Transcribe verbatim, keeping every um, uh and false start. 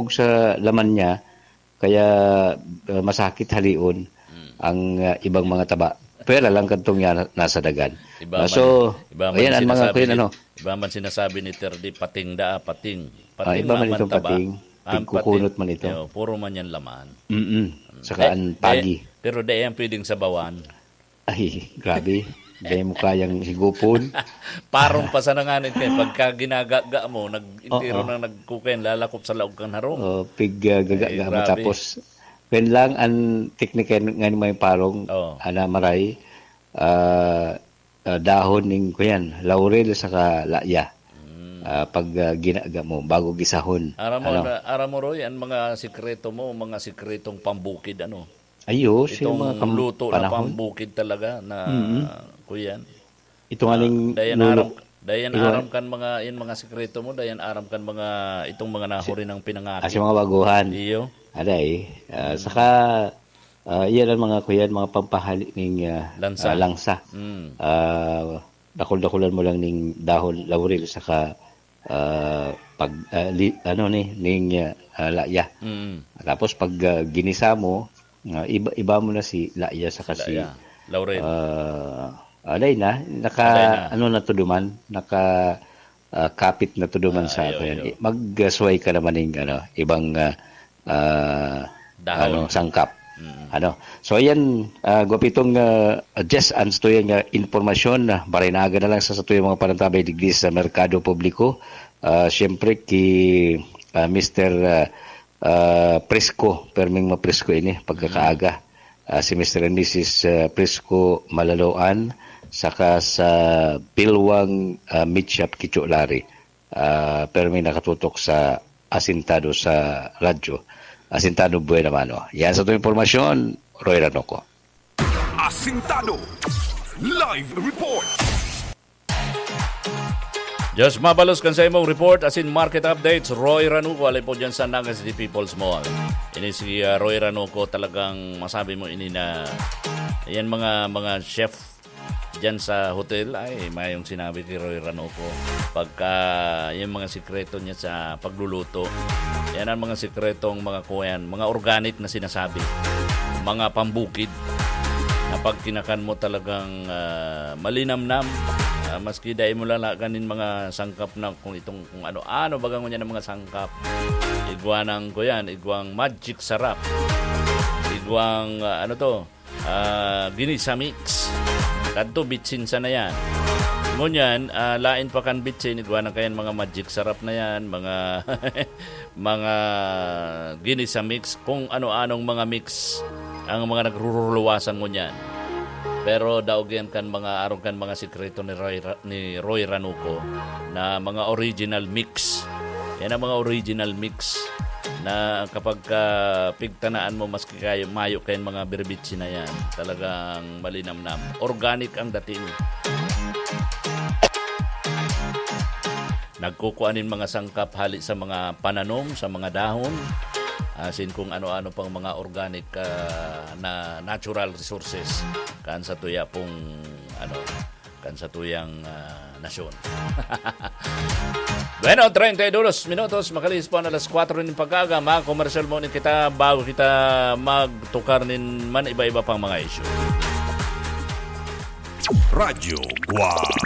sa laman niya, kaya, ah, masakit halion Mm. ang, ah, ibang mga taba. Pwera lang kadtong yan nasa dagan. Iba Ah, man, so, iba man ayan ang mga sinasabi kuya, ni, ano? iba man sinasabi ni Terdi, pating daa, pating. Ah, Pating iba man man, man itong taba. pating. Ang Pigkukunot pating, man ito. yo, puro man yan laman. Mm-mm. Saka Di-, ang pagi. di-, pero di yan pwedeng sabawan. Ay, grabe. Di mo kayang higupon. Parong pa sana nga nito eh. Pagka ginagaga mo, nag-, entero Oo. na nagkukuyan, lalakop sa laog kan harong. Oh, pig, ah, gaga-, Ay, ga mo. grabe. Tapos, kaya lang, ang teknika nga ni may parong, Oo. ana, maray, ah, ah, dahon ning, kuyan, laurel saka laya. Mm. Ah, pag, ah, ginaga mo, bago gisahon. Aram mo, Ano? na-, aram mo, Roy, ang mga sikreto mo, mga sikretong pambukid, ano? Ay, oo, siya yung Itong mga kam-, luto na panahon. pambukid talaga na, Mm. kuyan. Ito nga Ah, ning dayan lulo. aram, dayan Iwa- aram kan mga, yung mga sikreto mo, dayan aram kan mga, itong mga nahuri ng pinangati. Ah, sa mga baguhan. Iyo. Aday, ah, Mm. saka, ah, iyan ang mga kuyan, mga pampahali ning, ah, Lansa. ah, langsa. Mm. Ah, dakul-dakulan mo lang ning dahon laurel saka, ah, pag, ah, li-, ano ni, ning, ah, ah, laya. Mm. Tapos pag, ah, ginisa mo, ah, iba, iba mo na si laya saka Si si, laya. Laurel. ah, alay na, naka, Alay na. ano na to duman, naka, ah, kapit na to duman Ah, sa iyo, ato yan. iyo. I-, magsuway ka naman ng, ano, ibang, ah, ah, Dahon. ano, sangkap. Mm. Ano? So, ayan, ah, gwapitong, ah, Jess, ang satuyang, ah, impormasyon, ah, barinaga na lang sa satuyang mga panantabay digdi sa merkado publiko. Ah, siyempre, ki, ah, Mister, ah, ah, Presko, perming mapresko ini, pagkakaaga. Mm. Ah, si Mister and Missus, ah, Presko Malaloan, saka sa Bilwang, ah, Meat Shop, Kicho Lari. Ah, perming nakatutok sa asintado sa radyo. Asintado buena mano. Yan sa itong impormasyon, Roy Ranoco. Asintado. Live report. Diyos mabalos kan sa imong report asin market updates, Roy Ranuco, alay po dyan sa Naga City People's Mall. Ini si, ah, Roy Ranuco, talagang masabi mo ini na yan mga, mga chef dyan sa hotel, ay, mayong sinabi kay Roy Ranuco. Pagka yung mga sikreto niya sa pagluluto, yan ang mga sikretong mga kuyan, mga organic na sinasabi, mga pambukid, na pag kinakan mo talagang, ah, malinamnam, ah, maski dai mo lalagan nin mga sangkap na kung itong, kung ano-ano, baga ngunyan ang mga sangkap. Igwa ng, kuyan, igwang magic sarap. Igwang, ah, ano to, ah, ginisa mix. Kadto, bitsin sana yan. Ngunyan, ah, lain pa kan bitsin, igwa na kayan mga magic sarap na yan, mga, mga ginisa mix, kung ano-anong mga mix ang mga nagruruluwasan ngunyan. Pero daog yan kan mga, arog kan mga sikreto ni Roy Ra-, ni Roy Ranuco na mga original mix. Yan ang mga original mix na kapag, ah, pigtanaan mo, maski kayo, mayo kayong mga birbitsi na yan, talagang malinamnam. Organic ang dating. Nagkukuha nin mga sangkap hali sa mga pananom, sa mga dahon, asin kung ano-ano pang mga organic, ah, na natural resources kan sa tuya pong, ano, kan sa tuyang, ah, nasyon. Bueno, treinta y dos minutos, makalihis po ang alas kwatro nin pag-aga. Mga komersyal mo ni kita bago kita magtukar nin man iba-iba pang mga isyu. Radyo Guam.